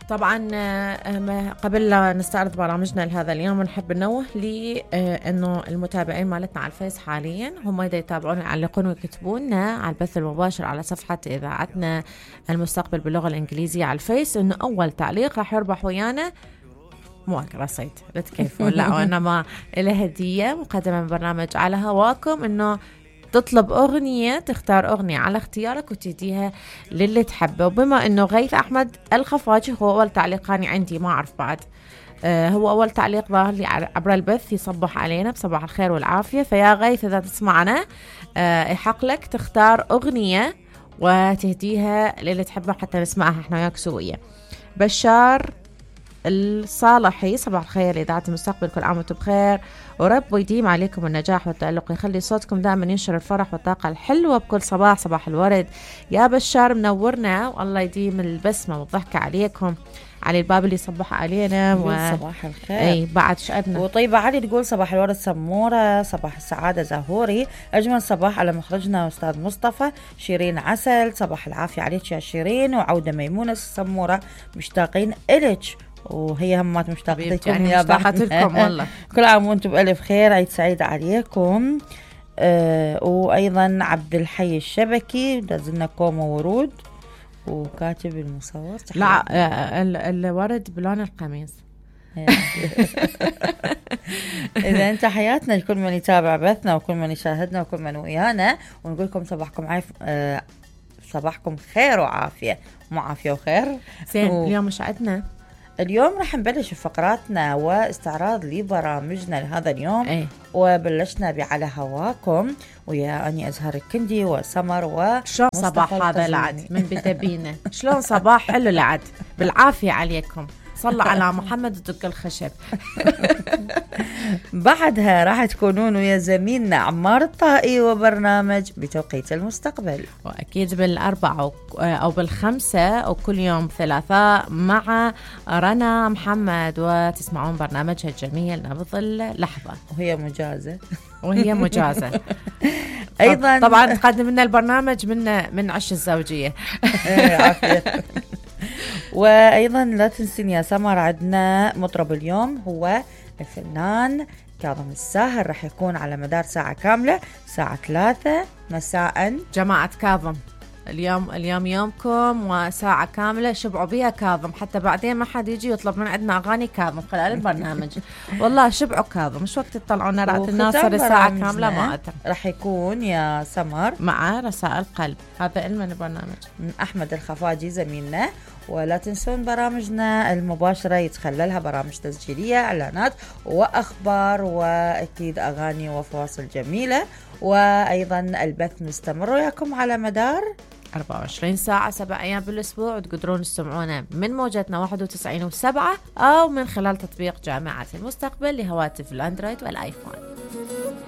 طبعا قبل لا نستعرض برامجنا لهذا اليوم نحب ننوه لي انه المتابعين مالتنا على الفيس حاليا هم اذا يتابعون يعلقون ويكتبوننا على البث المباشر على صفحة اذاعتنا المستقبل باللغة الانجليزية على الفيس، انه اول تعليق راح يربح ويانا مو رصيد لا تكيفون لا، وانما له هدية مقدمة من برنامج على هواكم، انه تطلب أغنية، تختار أغنية على اختيارك وتهديها للي تحبه. وبما أنه غيث أحمد الخفاجي هو أول تعليقاني عندي، ما أعرف بعد هو أول تعليق ظاهر لي عبر البث يصبح علينا بصباح الخير والعافية. فيا غيث إذا تسمعنا يحق لك تختار أغنية وتهديها للي تحبه حتى نسمعها احنا وياك سوية. بشار الصالحي، صباح الخير لإذاعة المستقبل، كل عام وانتم بخير ورب يديم عليكم النجاح والتألق، يخلي صوتكم دائما ينشر الفرح والطاقة الحلوة بكل صباح. صباح الورد يا بشار، منورنا والله يديم البسمة والضحكة عليكم. علي الباب اللي صبح علينا صباح الخير. اي بعد شقدنا. وطيبة علي تقول صباح الورد سمورة، صباح السعادة زهوري، أجمل صباح على مخرجنا أستاذ مصطفى. شيرين عسل، صباح العافية عليك يا شيرين. وعودة ميمونة السمورة، مشتاقين إلك، وهي همات مشتاقتكم يعني يا مشتاقتكم والله. كل عام وانتم بألف خير، عيد سعيد عليكم. وأيضا عبد الحي الشبكي دزلنا كوم ورود، وكاتب المصور لا الورد بلون القميص. إذا أنت حياتنا لكل من يتابع بثنا وكل من يشاهدنا وكل من ويانا، ونقول لكم صباحكم صباحكم خير وعافية، مو عافية وخير. اليوم مش عدنا، اليوم راح نبلش فقراتنا واستعراض لبرامجنا لهذا اليوم. وبلشنا بعلى هواكم ويا أني أزهر الكندي وسمر شلون صباح هذا العد من بدا بينا، شلون صباح حلو العد بالعافية عليكم. صلى على محمد ودق الخشب. بعدها راح تكونون ويا زميلنا عمار الطائي وبرنامج بتوقيت المستقبل، وأكيد بالأربعة أو بالخمسة وكل يوم ثلاثاء مع رنا محمد، وتسمعون برنامجها الجميل نبض اللحظة، وهي مجازة أيضا طبعا تقدم لنا البرنامج من عش الزوجية. وأيضا لا تنسين يا سمر عندنا مطرب اليوم هو الفنان كاظم الساهر، رح يكون على مدار ساعة كاملة الساعة 3 مساء. جماعة كاظم اليوم يومكم وساعة كاملة شبعوا بيها كاظم، حتى بعدين ما حد يجي يطلب من عندنا أغاني كاظم خلال البرنامج. والله شبعوا كاظم، مش وقت تطلعون رأت الناصر الساعة كاملة ما أتم. رح يكون يا سمر مع رسائل قلب، هذا علم البرنامج من أحمد الخفاجي زميلنا. ولا تنسون برامجنا المباشرة يتخللها برامج تسجيلية، إعلانات وأخبار، وأكيد أغاني وفواصل جميلة. وأيضا البث مستمر وياكم على مدار 24 ساعة 7 أيام بالأسبوع، وتقدرون تسمعونا من موجتنا 91.7 أو من خلال تطبيق جامعة المستقبل لهواتف الأندرويد والآيفون.